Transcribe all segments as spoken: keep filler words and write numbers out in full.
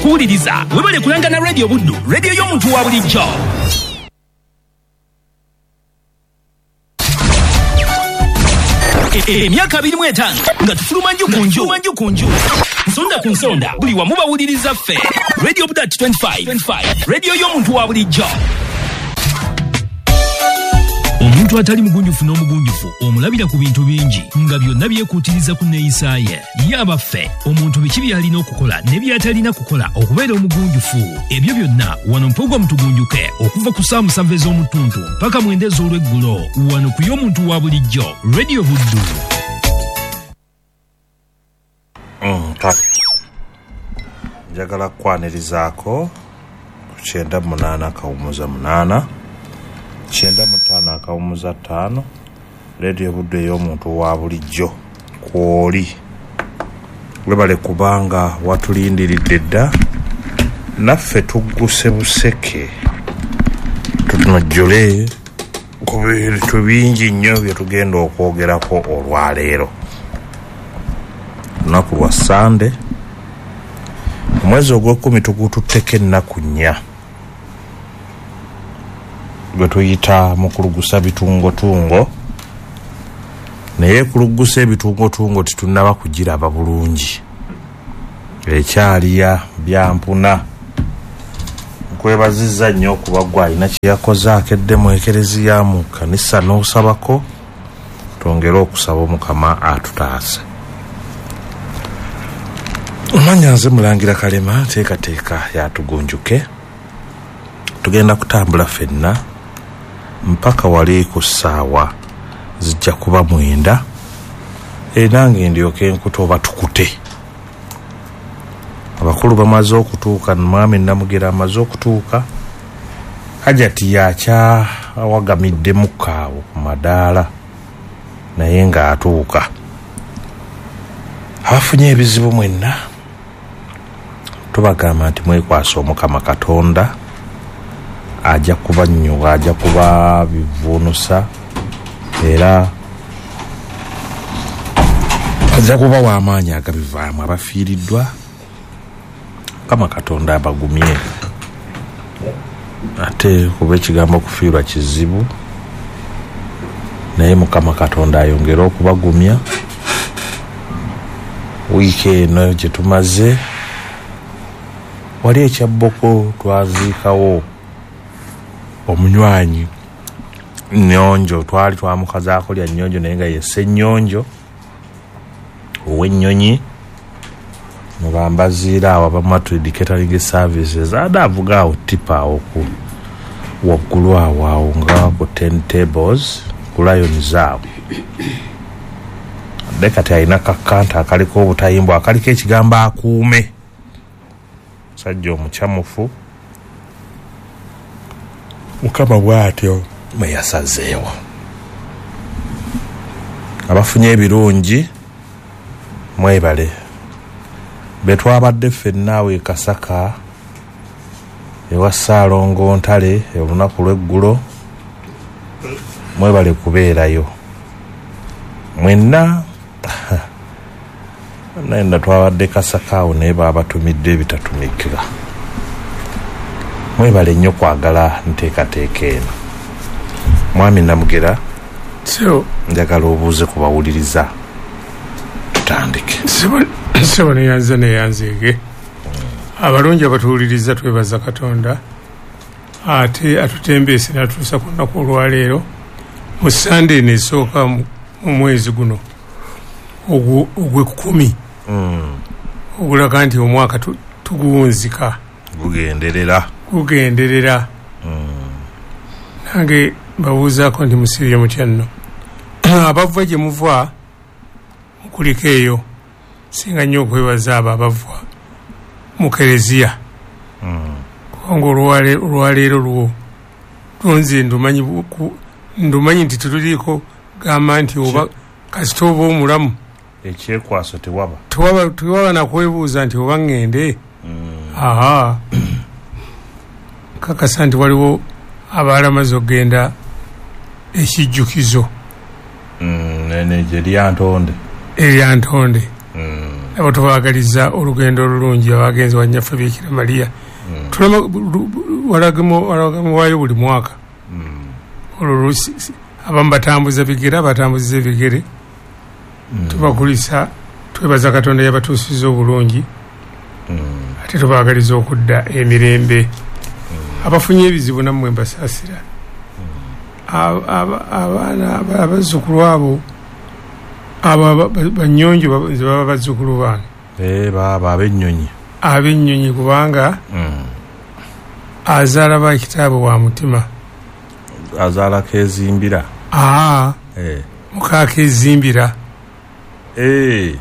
kuwuliriza, webale kulanga na Radio Buddu, radio y'omuntu wa bulijjo. Emyaka abiri mu etaano nga tufuluma nju ku nju, nju ku nju, nsonda ku nsonda, buli wamu bawuliriza ffe. Radio Buddu twenty-five, radio y'omuntu wa bulijjo. Omuntu atali mugunjufu n'omugunjufu omulabira ku bintu bingi nga byonna byekuutiriza ku nneeyisa ye. Ye abaffe, omuntu biki by'alina okukola ne by'atalina kukola okubeera omugunjufu? Ebyo byonna wano mpogwa mutugunjuke okuva ku ssaawa musanvu ez'omutuntu mpaka mwenda ez'olweggulo wano ku y'omuntu wa bulijjo, Radio Buddu. Mm, kale njagala kukwanirizaako ku kyenda munaana akawumuza munaana kyenda mu ttaano akawumuza ttaano, Radio Buddu ey'omuntu wa bulijjo kw'oli. Webale kubanga watulindiridde dda, naffe tugguse buseke tutunojjole ku bintu bingi nnyo bye tugenda okwogerako olwaleero. Lunaku lwa Sande, omwezi ogw'ekkumi tugututteko ennaku nnya gwe tuyita mukulugusa bitungotungo, naye kulugusa ebitungotungo tetunnaba kugiraba bulungi, ekyaliya byampuna. Nkwebazizza nnyo okuba gwe alina kye yakoze akedde mu ekereziya mu kkanisa n'osabako, twongere okusaba Omukama atutaase. Omanya nze Mulangira Kalema, nteekateeka yatugunjuke. Tugenda kutambula ffenna mpaka wali ku ssaawa zijja kuba mwenda, nange ndyoke nkuta oba tukute. Abakulu bamaze okutuuka, mwami Namugera amaze okutuuka, Hajati yakyawagamiddemukko awo ku madaala naye ng'atuuka. Abafunye ebizibu mwenna tubagamba nti mwekwasa Omukama Katonda, ajja kubanyuga, ajja kuba bivuunusa, era ajja kuba w'amaanyi agabivaamu. Abafiiriddwa Mukama Katonda abagumye, ate kuba ekigambo okufiirwa kizibu, naye Mukama Katonda ayongere okubagumya. Wiiki eno gye tumaze wali ekyabboko twaziikawo omunywanyi Nnyonjo, twali twamukazaako lya Nnyonjo naye nga ye Ssennyonjo ow'ennyonyi mubambaziira awo abamu catering services, ade avuga awo tipa awo ku waggulu awo awo nga ku ten tables ku Lions awo. Ade kati alina kakanta akaliko obutayimbwa akaliko ekigambo akuume, musajja omukyamufu Mukama bw'atyo bwe yasazeewo. Abafunye ebirungi mwebale, be twabadde ffenna awo e Kasaka ewa Ssaalongo Ntale olunaku lw'eggulo, mwebale kubeerayo mwenna. Naye twabadde Kasaka awo naye baabatumidde ebitatumikira. Mwebale nnyo kwagala nteekateeka eno. Mwami Namugera, njagala obuuze ku bawuliriza, tutandike. Ssebo neyanze neyanzeege. Abalungi abatuwuliriza twebaza Katonda ate atutembeese n'atuusa ku lunaku olwaleero mu Sande eno esooka mu mwezi guno ogw'ekkumi, ogulaga nti omwaka tuguwunzika, gugenderera gugenderera. Nange mbabuuzaako nti musiibye mutya nno? Abava gye muva mukuliko eyo, singa nnyo okwebaza abo abava mu kereziya, kubanga olwaleero lwo lunze ndumanyi ndumanyi nti tetuliiko gamba nti oba kasita oba omulamu ekyekwaso tewaba tewaba tewaba nakwebuuza nti oba ŋŋende. Aha, kakasa nti waliwo abalamaze okugenda ekijjukizo eryantonde eryantonde. Nabo tubaagaliza olugendo olulungi abagenzi wa Nnyaffe Bikira Maria. Tulama walagamu buli mwaka. Olwo abamu batambuza bigere, abatambuza ebigere. Tubakulisa, twebaza Katonda yabatuusiza obulungi. Ate tubaagaliza okudda emirembe. Abafunye ebizibu nammwe mbasaasira. Abaana abazzukulu abo abo banyonjo nze baba bazzukulu bange. Eh baba ab'ennyonyi. Ab'ennyonyi kubanga azaala ba kitaabo wa mutima. Azaala kezimbira. Aa. Eh. Muka kezimbira. Eh.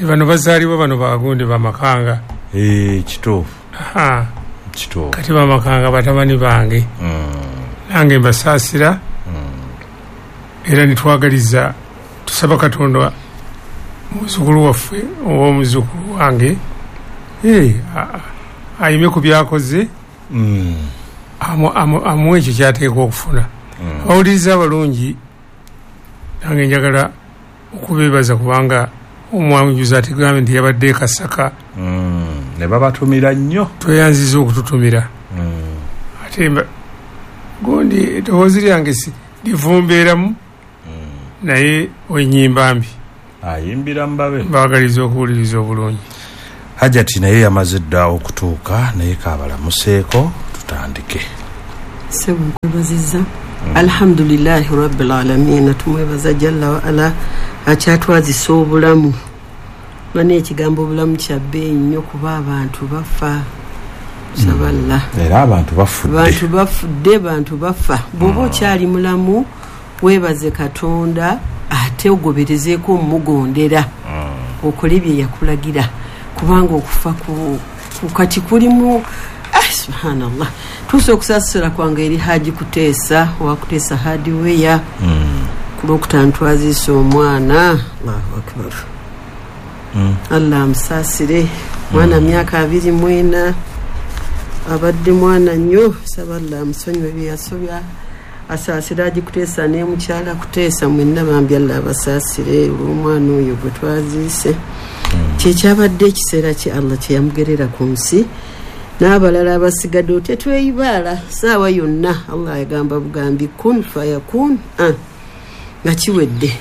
Bano bazaalibwa bano bagundi bamakanga. Eh kituufu. Aha. Kituufu. Kati bamakanga batabani bange. Mm. Nange mbasaasira. Mm. Era nitwagaliza tusaba Katonda muzzukulu waffe oba omuzzukulu wange eh ayime ku byakoze. Mm. Amu amu amuwe ekyo kyateekwa okufuna. Mm. Abawuliriza abalungi nange njagala okubeebaza kubanga omwanjuzi ategambe nti yabadde e Kasaka. Mm. Ne babatumira nnyo. Tweyanziza okututumira. Mm. Ate gundi eddoboozi lyange si livumbeeramu. Mm. Naye wenyimba mbi. Ayimbira mbabe. Mbaagaliza okuwuliriza obulungi. Hajati naye yamaze dda okutuuka naye kaabalamuseeko tutandike. Ssebo nkwebazizza. Alhamdulillahi rabbil alamin, tumwebaza jalla wa ala akyatwazisa obulamu. Bane ekigambo obulamu kya bbeeyi nnyo kuba abantu bafa. Nsaba Allah. Era abantu bafudde. Abantu bafudde, bantu bafa. Bw'oba okyali mulamu weebaze Katonda ate ogoberezeeko omugondera. Okole bye yakulagira kubanga okufa ku kati kulimu. Ah, subhanallah. Tuuse okusaasira kwange eri Haji Kuteesa owa Kuteesa Hardware. Mm. Ku Lwokutaano twaziise omwana. Allahu akbar. Mm. Allah amusaasire. Mwana myaka abiri mu ena, abadde mwana nnyo. Saba Allah amusonyiwe bye yasobya, asaasire Haji Kuteesa ne mukyala Kuteesa mwenna bambi Allah abasaasire olw'omwana oyo gwe twaziise. Kyekyabadde ekiseera kye Allah kye yamugerera ku nsi. N'abalala abasigadde otya tweyibaala saawa yonna. Allah yagamba bugambi kun fayakun, ah, nga kiwedde.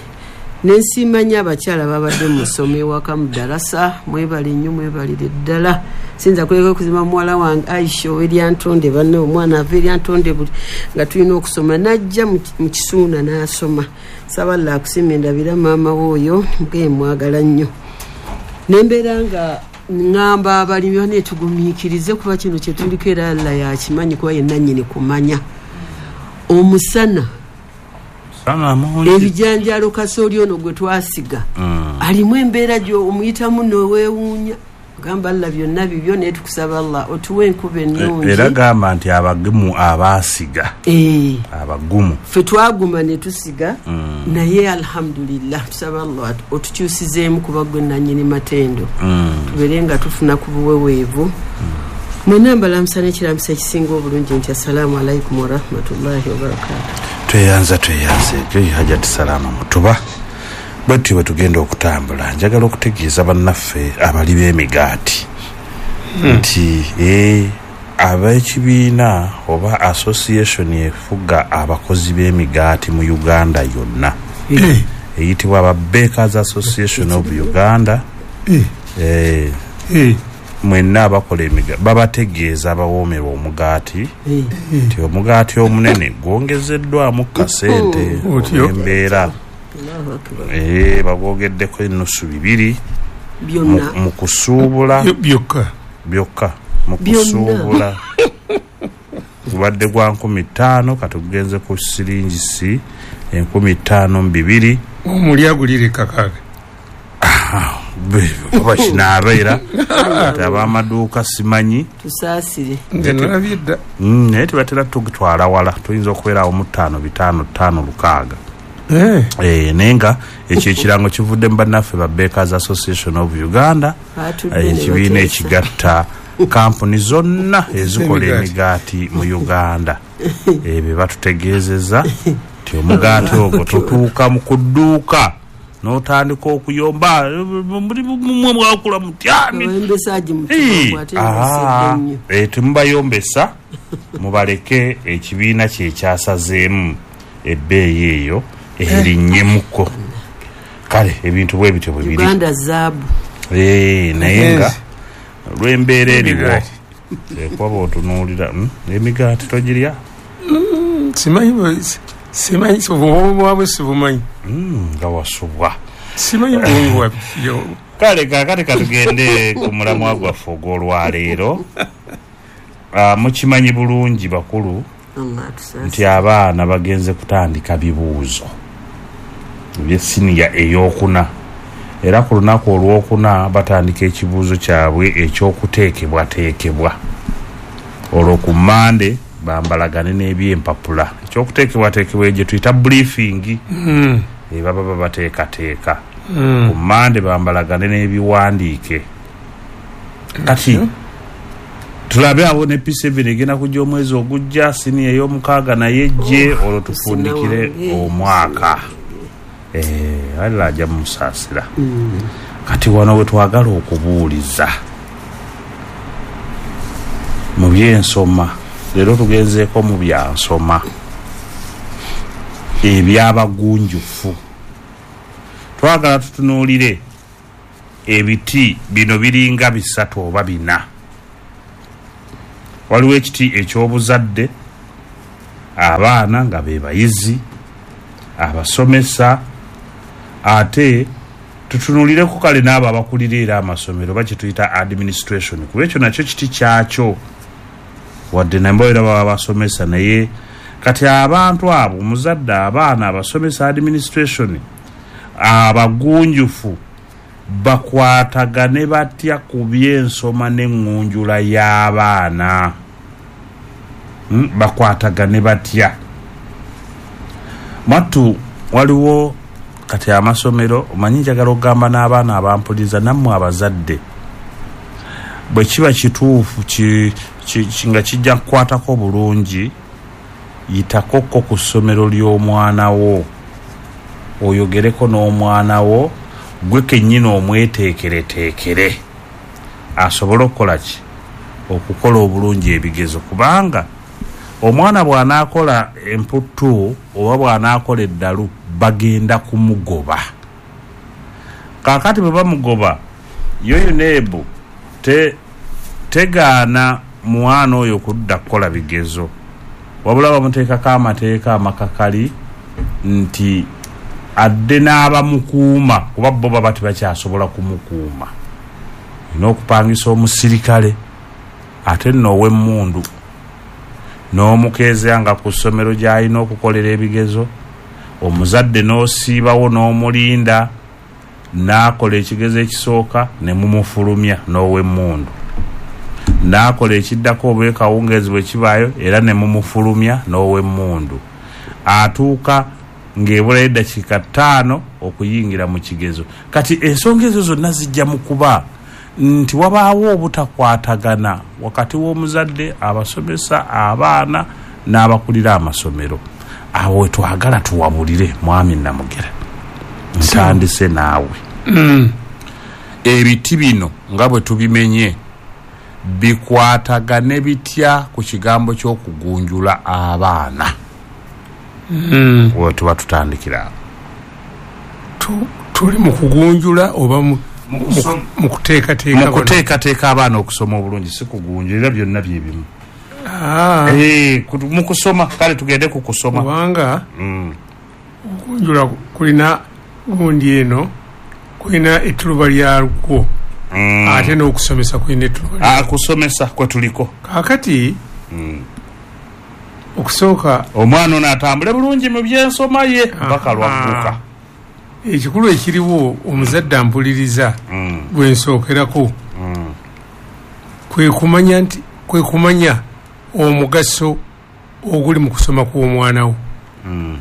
Nensiima nnyo abakyala babadde mu ssomo ewaka mu ddalasa, mwebale nnyo, mwebalire ddala. Siyinza kuleka okuzima muwala wange Aisha ow'Eryantonde, banne omwana ava Eryantonde buli nga tulina okusoma n'ajja mu Kisuuna n'asoma. Saba Allah akusiime, ndabira maama we oyo muge mwagala nnyo. Nembeera nga ŋŋamba abalimi bane tugumiikirize kuba kino kye tuliko era Allah yakimanyi kuba ye nannyini kumanya. Omusana ebijanjaalo kasooli ono gwe twasiga alimu embeera gy'omuyitamu neweewuunya. Gamba Allah byonna bibyo naye tukusaba Allah otuwe enkuba ennungi. Era gamba nti abagumu abaasiga. Eh. Abagumu. Ffe twaguma ne tusiga mm. naye alhamdulillah tusaba Allah otukyusizeemu kuba gwe nannyini matendo. Mm. Tubeere nga tufuna ku buweweevu. Mm. Mwenna mbalamusa n'ekiramuso ekisinga obulungi nti assalaamu alaikum warahmatullahi wabarakatuh. Tweyanza tweyanze ekyo Hajati Salama Mutuba. Bwetyo bwe tugenda okutambula njagala okutegeeza bannaffe abali b'emigaati nti eh, ab'ekibiina oba association efuga abakozi b'emigaati mu Uganda yonna eyitibwa aba Bakers Association of Uganda. Eh, mwenna abakola emigaati babategeeza abawoomerwa omugaati nti omugaati omunene gwongezeddwamu kasente embeera. Eh, bagwogeddeko ennusu bibiri byonna mu kusuubula byokka byokka mu kusuubula gubadde gwa nkumi ttaano kati gugenze ku siringi si enkumi ttaano mu bibiri. Omuli agulire kakaaga oba kinaabeera ati ab'amaduuka simanyi tusaasire nze nalabye dda. Naye tebatera tugitwala wala, tuyinza okubeerawo mu ttaano bitaano ttaano lukaaga. Eh. Eh, naye nga ekyo ekirango kivudde mu bannaffe ba Bakers Association of Uganda, ekibiina ekigatta kampuni zonna ezikola emigaati mu Uganda. Ebyo batutegeezezza nti omugaati ogwo tutuuka mu kudduuka N'otandika okuyomba mwe mwakula mutya. Temubayombesa, mubaleke ekibiina kye kyasazeemu ebbeeyi eyo erinnyemuko. Kale ebintu bwe bityo bwe biri. Uganda zaabu. Naye nga olw'embeera eriwo ekuba otunuulira emigaati togirya. Simanyi simanyi obwabwe sibumanyi nga wasubwa. Simanyi bwabwe. Kale kaakati katugende ku mulamwa gwaffe ogw'olwaleero. Mukimanyi bulungi bakulu nti abaana bagenze kutandika bibuuzo eby'essiniya ey'okuna, era ku lunaku olwokuna batandika ekibuuzo kyabwe ekyokuteekebwateekebwa. Olwo ku Mmande bambalagane n'ebyempapula. Ekyokuteekebwateekebwa gye tuyita briefing, ebaba babateekateeka. Ku Mmande bambalagane n'ebiwandiike. Kati tulabe awo ne P seven egenda kujja omwezi ogujja, siniya ey'omukaaga naye ejje, olwo tufundikire omwaka. Eh, Allah ajja mumusaasira. Kati wano we twagala okubuuliza mu byensoma, leero tugenzeeko mu byansoma ebyabagunjufu. Twagala tutunuulire ebiti bino biringa bisatu oba bina. Waliwo ekiti eky'obuzadde, abaana nga be bayizi, abasomesa, ate tutunuulireko kale n'abo abakulira era amasomero bakituyita administration, kuba ekyo nakyo kiti kyakyo, wadde nabo era baba basomesa. Naye kati abantu abo, omuzadde, abaana, abasomesa, administration, abagunjufu bakwatagane batya ku byensoma n'eŋŋunjula y'abaana? Hmm? Bakwatagane batya? Mwattu waliwo kati amasomero, omanyi njagala okugamba n'abaana abampuliza nammwe abazadde, bwe kiba kituufu ki, ki, ki, nga kijja kukwatako bulungi, yitakokko ku ssomero ly'omwana wo, oyogereko n'omwana wo gwe kennyini omweteekereteekere asobole okukola ki? Okukola obulungi ebigezo. Kubanga omwana bw'anaakola emputtu oba bw'anaakola eddalu bagenda kumugoba. Kaakati bwe bamugoba, yo UNEB te, tegaana mwana oyo kudda kukola bigezo, wabula bamuteekako amateeka amakakali nti adde n'abamukuuma, kuba bo baba tebakyasobola kumukuuma. Olina okupangisa omusirikale ate nno ow'emmundu n'omukeezea nga ku ssomero gy'alina okukolera ebigezo, omuzadde n'osiibawo n'omulinda n'akola ekigezo ekisooka ne mumufulumya n'ow'emmundu, n'akola ekiddako oba ekawungeezi bwe kibaayo era ne mumufulumya n'ow'emmundu, atuuka ng'ebulayo eddakiika ttaano okuyingira mu kigezo. Kati ensonga ezo zonna zijja mu kuba nti wabaawo obutakwatagana wakati w'omuzadde, abasomesa, abaana n'abakulira amasomero. Awo we twagala tuwabulire mwami Namugera, ntandise naawe. Mm. Ebiti bino nga bwe tubimenye bikwatagane bitya ku kigambo ky'okugunjula abaana? Mm. We tuba tutandikira tuli mu kugunjula oba mu mu kuteekateeka abaana okusoma obulungi, si kugunjula, byonna bye bimu. Ah. Eh, mu kusoma, kale tugende ku kusoma. Kubanga mm. okugunjula kulina gundi eno, kulina ettuluba lyalwo. Mm. Ate n'okusomesa kulina ettuluba. Ah, kusomesa kwe tuliko. Kaakati mm. okusooka omwana ono atambule bulungi mu byensoma ye paka lwagguka. Ekikulu ekiriwo omuzadde ampuliriza mm. gwe nsookerako mm. kwe kumanya nti kwe kumanya omugaso oguli mu kusoma kw'omwana wo. Mm.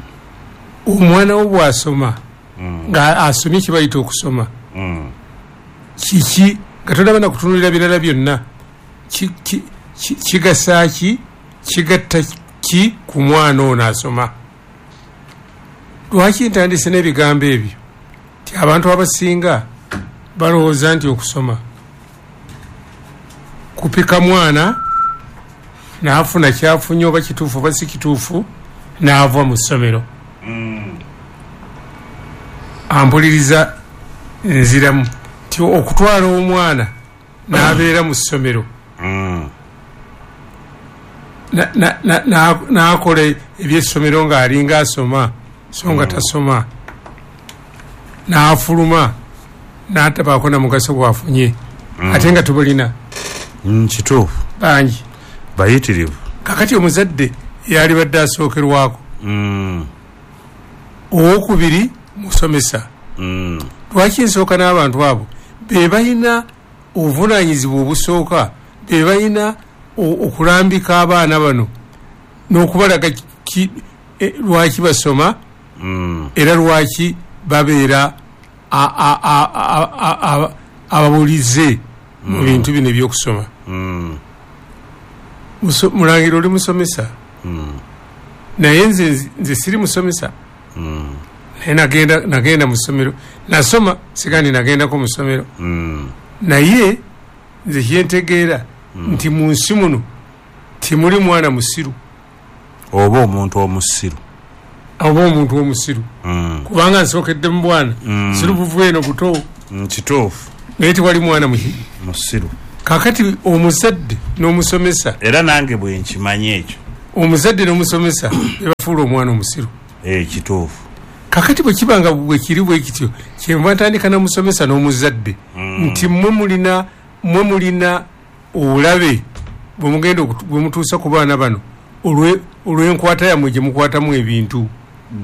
Omwana wo bw'asoma mm. nga asomye kye bayita okusoma mm. kiki nga tolaba na kutunuulira birala byonna, kigasa ki, kigatta ki ku mwana ono asoma. Lwaki ntandise n'ebigambo ebyo? Ti abantu abasinga balowooza nti okusoma kupika mwana n'afuna kyafunye oba kituufu oba si kituufu n'ava mu ssomero. Mm. Ampuliriza nziramu ti okutwala omwana n'abeera mu ssomero Mm. n'akola ebyessomero ng'alinga asoma so nga tasoma, n'afuluma n'atabaako na mugaso gwafunye, ate nga tubulina. Mm, kituufu. Bangi bayitirivu. Kakati omuzadde yalibadde asookerwako. Mm. Owokubiri musomesa. Mm. Lwaki nsooka n'abantu abo be balina obuvunaanyizibwa obusooka, be balina okulambika abaana bano n'okubalaga e, lwaki basoma, Mm. era lwaki babeera ababulize mu bintu bino ebyokusoma. Mm. Mulangira oli musomesa, Mm. naye nze nze siri musomesa. Mm. Naye nagenda nagenda mu ssomero nasoma, sigandi nagendako mu ssomero. Mm. Naye nze kyentegeera nti mu nsi muno timuli mwana musiru oba omuntu omusiru oba omuntu omusiru. Mm. Kubanga nsookedde mu bwana, Mm. siru buvu eno buto. Mm, kituufu. Naye tewali mwana muki musiru. Kakati omuzadde n'omusomesa, era nange bwe nkimanyi ekyo, omuzadde n'omusomesa bebafuula omwana omusiru. Eh, kituufu. Kakati bwe kibanga bwe kiri bwe kityo, kyenva ntandika n'omusomesa n'omuzadde Mm. nti mmwe mulina mmwe mulina obulabe bwe mugenda bwe mutuusa ku baana bano olw'enkwata yammwe gye mukwatamu ebintu.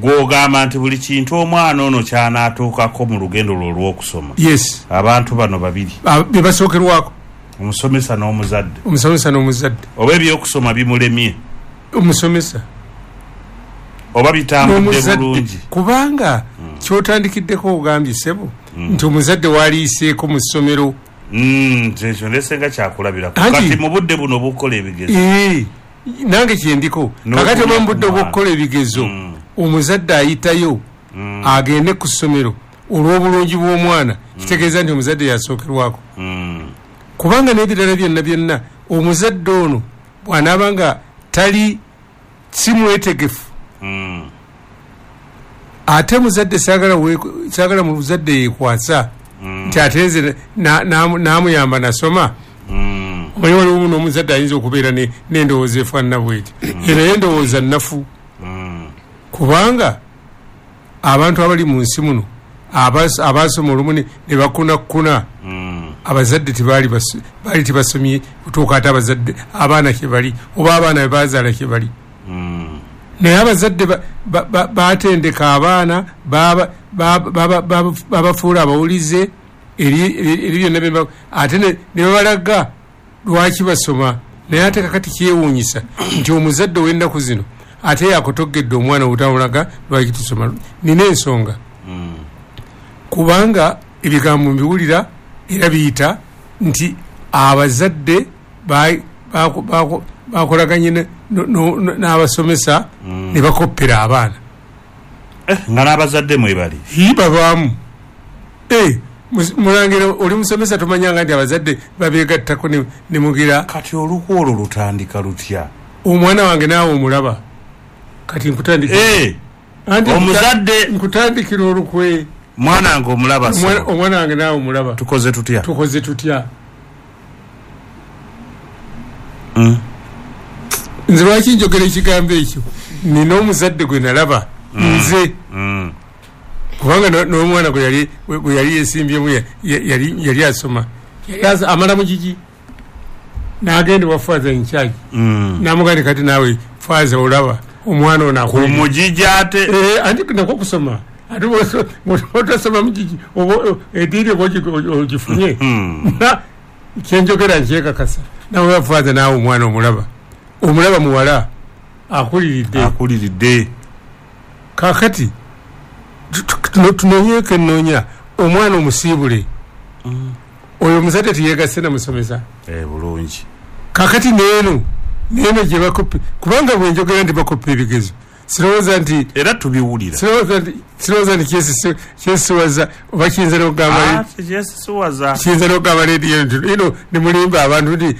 Gw'ogamba nti buli kintu omwana ono ky'anaatuukako mu lugendo lwe olw'okusoma. Yes. Abantu bano babiri be basookerwako, omusomesa n'omuzadde. Omusomesa n'omuzadde. Oba ebyokusoma bimulemye omusomesa, oba bitambudde bulungi. Kubanga kyotandikiddeko ogambye ssebo nti omuzadde waliiseeko mu ssomero. Mm, ekyo ndesenga kyakulabirako. Kati mu budde buno obukola ebigezo. Ee, nange kyendiko. Kakati oba mu budde obw'okukola ebigezo, omuzadde ayitayo agende ku ssomero olw'obulungi bw'omwana, kitegeeza nti omuzadde yasookerwako. Kubanga n'ebirala byonna byonna omuzadde ono bw'anaaba nga tali si mwetegefu, ate muzadde saagala saagala muzadde yeekwasa nti ate nze n'amuyamba nasoma. Omanyi waliwo n'omuzadde ayinza okubeera n'endowooza efaanana bweti, era endowooza nnafu. Kubanga abantu abali mu nsi muno abaasoma olumu ne bakunakuna, abazadde tebaali baali tebasomye kutuuka ate abazadde abaana kye bali oba abaana be baazaala kye bali. Naye abazadde batendeka abaana, babafuula abawulize eri byonna, ate ne babalaga lwaki basoma. Naye ate kakati kyewuunyisa nti omuzadde ow'ennaku zino ate yakotogedde omwana obutamulaga lwaki tusoma. Nina ensonga, kubanga ebigambo mbiwulira era biyita nti abazadde bakolaganye n'abasomesa ne bakoppera abaana. Nga n'abazadde mwebali babaamu. Mulangira oli musomesa tomanyanga nti abazadde babeegattako ne mugira. Kati olukwo olwo lutandika lutya? Omwana wange naawe omulaba. Kati nkutandikira omuzadde nkutandikira olukwe. Mwana wange omulaba. Omwana wange naawe omulaba. Tukoze tutya? Tukoze tutya? Nze lwaki njogera ekigambo ekyo? Nina omuzadde gwe nalaba nze, kubanga n'omwana gwe yali yesimbyemu yali asoma, amala mugigi n'agenda wa Father in charge, n'amugamba kati naawe Father olaba omwana ono ku mugigi ate anti nako kusoma ate otasoma mugigi eddiini oba ogifunye. Kyenjogera nkyekakasa. Nawe Father naawe omwana omulaba, omulaba muwala akuliridde akuliridde. Kakati tunonyeeko ennoonya omwana omusiibule oyo omuzadde teyeegasse na musomesa bulungi. Kakati neeno neeno gye bakoppa, kubanga bwe njogera nti bakoppa ebigezo Sirowooza nti era tubiwulira. Sirowooza nti sirowooza nti kyesi kyesiwaza oba kiyinza n'okugamba kyesiwaza kiyinza n'okugamba leediyo nti ino ne mulimba abantu nti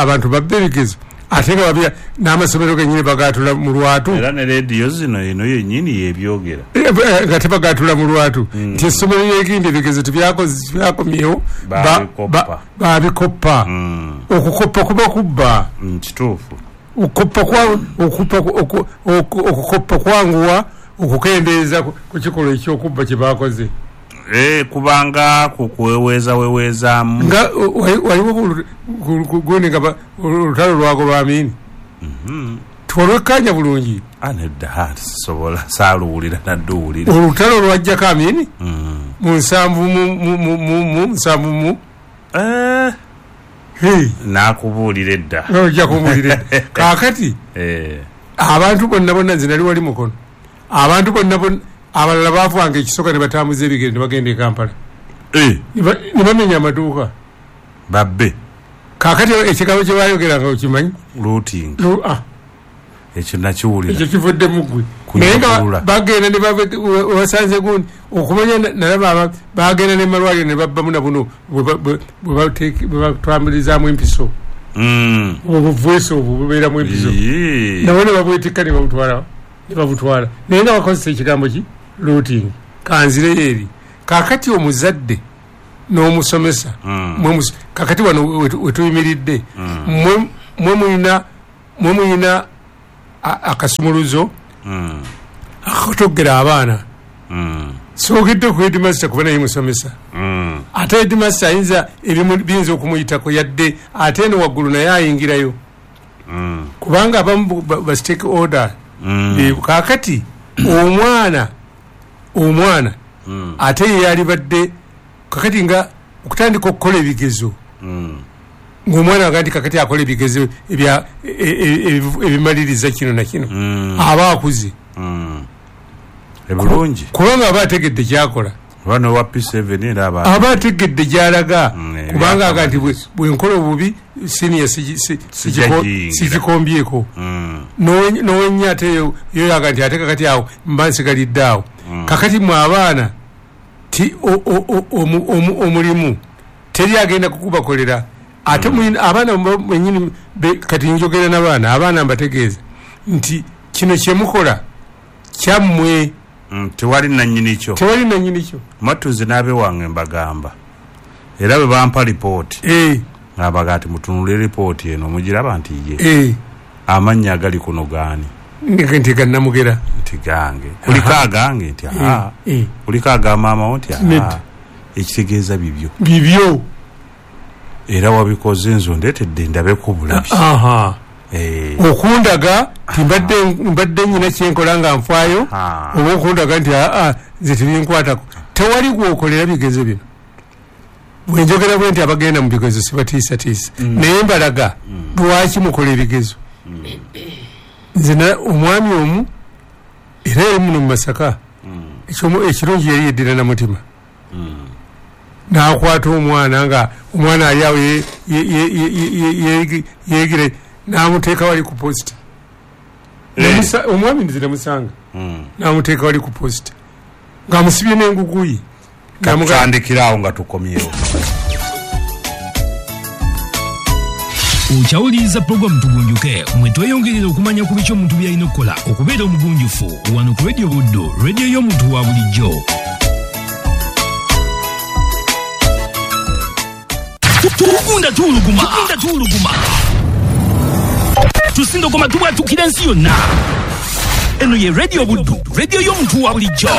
abantu babba ebigezo ate nga babya n'amasomero gennyini bagaatula mu lwatu. Era ne leediyo zino eno yennyini yebyogera nga tebagaatula mu lwatu nti essomero lyegindi ebigezo tebyakomyewo baabikoppa. Okukoppa kuba kubba. Kituufu. Okukoppa okukoppa kwanguwa okukendeeza ku kikolwa ekyokubba kye baakoze. Kubanga kukweweeza weweezaamu. Nga waliwo gundi nga olutalo lwago lwa Amini. Twalwekkaanya bulungi. Nedda sisobola saaluwulira nadduwulira. Olutalo lwajjako Amini mu nsanvu mu nsanvu mu. Naakubuulira edda. Ojja kumbuulira edda. Kaakati abantu bonna bonna nze nali wali Mukono. Abantu bonna bonna abalala baavanga ekisooka ne batambuza ebigere ne bagenda e Kampala. Ne bamenya amaduuka. Babbe. Kaakati ekigambo kye baayogeranga okimanyi? Looting. Ekyo nakiwulira. Ekyo kivudde mu ggwe. Naye nga bagenda ne basanze gundi okumanya nalaba bagenda ne malwaliro ne babbamu na buno bwe batwambulizaamu empiso. Obuvweso obwo bubeeramu empiso. Nabo ne babwetikka ne babutwala. Ne babutwala. Naye nga bakozesa ekigambo ki? Looting. Kanzireyo eri. Kaakati omuzadde n'omusomesa. Kaakati wano we tuyimiridde. Mwe mulina mwe mulina akasumuluzo akatogera abaana. Soogedde ku headmaster kuba naye musomesa. Ate headmaster ayinza ebimu biyinza okumuyitako yadde ate eno waggulu naye ayingirayo. Kubanga abamu ba stake order. Kaakati omwana omwana ate ye yalibadde kakati nga okutandika okukola ebigezo ng'omwana aga nti kakati akola ebigezo ebimaliriza kino na kino aba akuze ebirungi kubanga aba ategedde kyakola wa P seven era aba aba ategedde gy'alaga kubanga aga nti bwe nkola obubi senior sigikombyeko n'owenya ate yo yaga nti ate kakati awo mba nsigalidde awo. Kakati mwe abaana ti omulimu teri agenda kukubakolera. Ate abaana bennyini kati njogera n'abaana abaana mbategeeza nti kino kye mukola kyammwe. Tewali nannyini kyo. Tewali nannyini kyo. Matuze n'abe wange mbagamba era bwe bampa lipooti ng'abaga ati mutunule lipooti eno mugiraba nti ye amannya agali kuno gaani nti gannamugera nti gange kuliko agange nti aa kuliko aga maama wo nti aa ekitegeeza bibyo bibyo era wabikoze nze ondeetedde ndabeko bulabi. Okundaga nti mbadde nnyina kyenkola nga nfaayo oba okundaga nti aa nze tebinkwatako. Tewali gwokolera bigezo bino. Bwe njogera bwe nti abagenda mu bigezo sibatiisatiisa naye mbalaga lwaki mukola ebigezo. Nze omwami omu era yali muno mu Masaka ekirungi yali yeddira na mutima n'akwata omwana nga omwana ali awo yeegire n'amuteeka wali ku posita. Omwami nze namusanga n'amuteeka wali ku posita ng'amusibye n'engugu ye. Katutandikirawo nga tukomyewo. Okyawuliriza pulogulaamu Tugunjuke mwe tweyongerera okumanya ku biki omuntu by'alina okukola okubeera omugunjufu wano ku Radio Buddu, radio y'omuntu wa bulijjo. Tugunda tuwuluguma, tugunda tuwuluguma, tusindogoma tubwatukira ensi yonna. Eno ye Radio Buddu, radio y'omuntu wa bulijjo.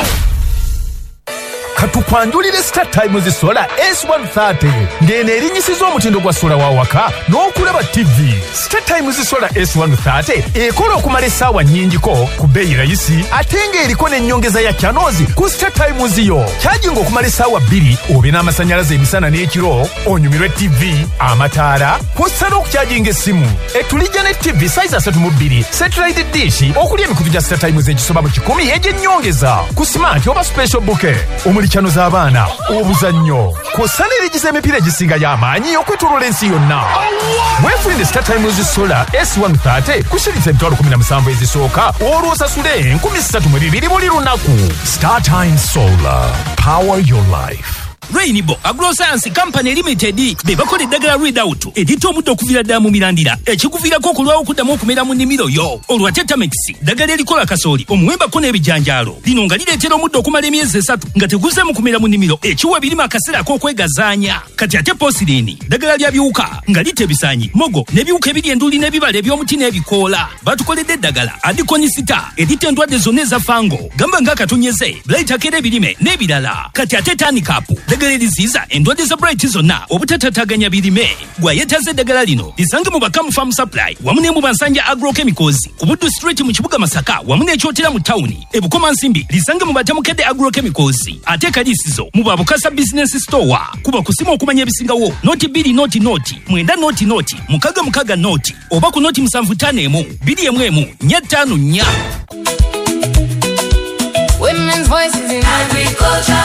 Katukwanjulire Star Times Solar S one thirty ng'eno erinnyisiza omutindo gwa sola wa waka n'okulaba T V. Star Times Solar S one thirty ekola okumala essaawa nnyingiko ku bbeeyi rayisi ate ng'eriko n'ennyongeza ya channels ku Star Times yo. Kyajinga okumala essaawa bbiri obe n'amasannyalaze emisana n'ekiro, onyumirwe T V, amataala, kw'ossa n'okukyajinga essimu. Etulijja ne T V size asatu mu bbiri, satellite dish okuli emikutu gya Star Times egisoba mu kikumi egy'ennyongeza ku smart oba special bouquet. Omuli channel z'abaana, obuzannyo, kw'ossa n'erigiza emipiira egisingayo amaanyi okwetooloola ensi yonna. Weefunire Star Times Solar S one thirty ku shilingi emitwalo kumi na musanvu ezisooka, olwo osasule enkumi ssatu mu bibiri buli lunaku. Star Times Solar, power your life. Rainbow Agroscience Company Limited be bakola eddagala Readout eritta omuddo okuviira ddala mu mirandira, ekikuviirako okulwawo okuddamu okumera mu nnimiro yo. Olwo ate Tamex, ddagala erikola kasooli, omuwembako n'ebijanjaalo, lino nga lireetera omuddo okumala emyezi esatu nga teguzzeemu kumera mu nnimiro, ekiwa ebirime akaseera ak'okwegazaanya. Kati ate Posirini, ddagala lya biwuka nga litta ebisaanyi, mogo n'ebiwuka ebiri enduli n'ebibala eby'omuti n'ebikoola. Batukoledde eddagala Adikonisita eritta endwadde zonna eza fango, gamba ng'akatonyeze, blight akera ebirime n'ebirala. Kati ate Tanikapu, ddagala eriziyiza endwadde za blight zonna obutatataganya birime. Gw'ayeetaaza eddagala lino lisange mu Bakamu Farm Supply wamu ne mu Bansanja Agrochemicals ku Buddu Street mu kibuga Masaka wamu n'Ekyotera mu tawuni. E Bukomansimbi lisange mu Batamukedde Agrochemicals, ate Kalisizo mu Babukasa Business Store. Kuba kusimu okumanya ebisingawo noti bbiri noti noti mwenda noti noti mukaga mukaga noti oba ku noti musanvu ttaano emu bbiri emu emu nnya ttaano nnya. Women's voices in agriculture.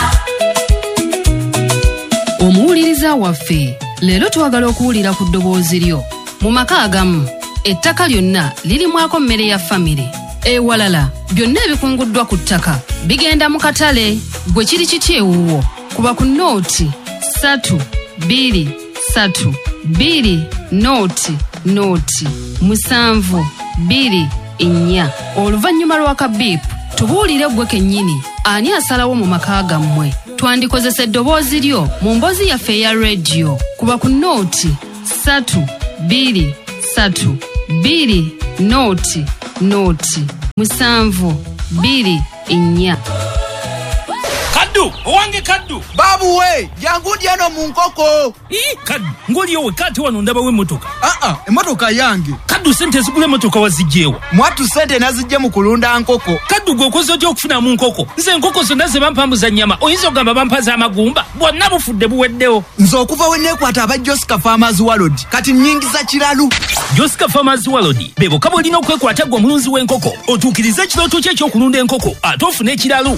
Omuwuliriza waffe, leero twagala okuwulira ku ddoboozi lyo. Mu maka agamu, ettaka lyonna lirimwako mmere ya famire. Ewalala, byonna ebikunguddwa ku ttaka bigenda mu katale. Gwe kiri kiti ewuwo? Kuba ku nooti ssatu bbiri ssatu bbiri nooti nooti musanvu bbiri nnya. Oluvannyuma lwa kabiipu, tubuulire ggwe kennyini ani asalawo mu maka gammwe. Twandikozesa eddoboozi lyo mu mboozi yaffe eya rediyo. Kuba ku nooti ssatu bbiri ssatu bbiri nooti nooti musanvu bbiri nnya. Kaddu, owange Kaddu. Babu we, jangu ndi eno mu nkoko. Ii, Kaddu, ng'oliyo wekka ate wano ndabawo emmotoka. Aa, emmotoka yange. Kaddu, ssente ezigula emmotoka waziggyewa? Mwattu ssente naziggye mu kulunda nkoko. Kaddu, gwe okoze otya okufunamu nkoko? Nze enkoko zonna ze bampambuza nnyama, oyinza okugamba bampa z'amagumba? Bwonna bufudde buweddewo. Nze okuva we neekwata aba Josca Farmers World, kati nnyingiza kiralu. Josca Farmers World be bokka b'olina okwekwata ggwe omulunzi w'enkoko, otuukirize ekirooto kyo eky'okulunda enkoko ate ofune ekiralu.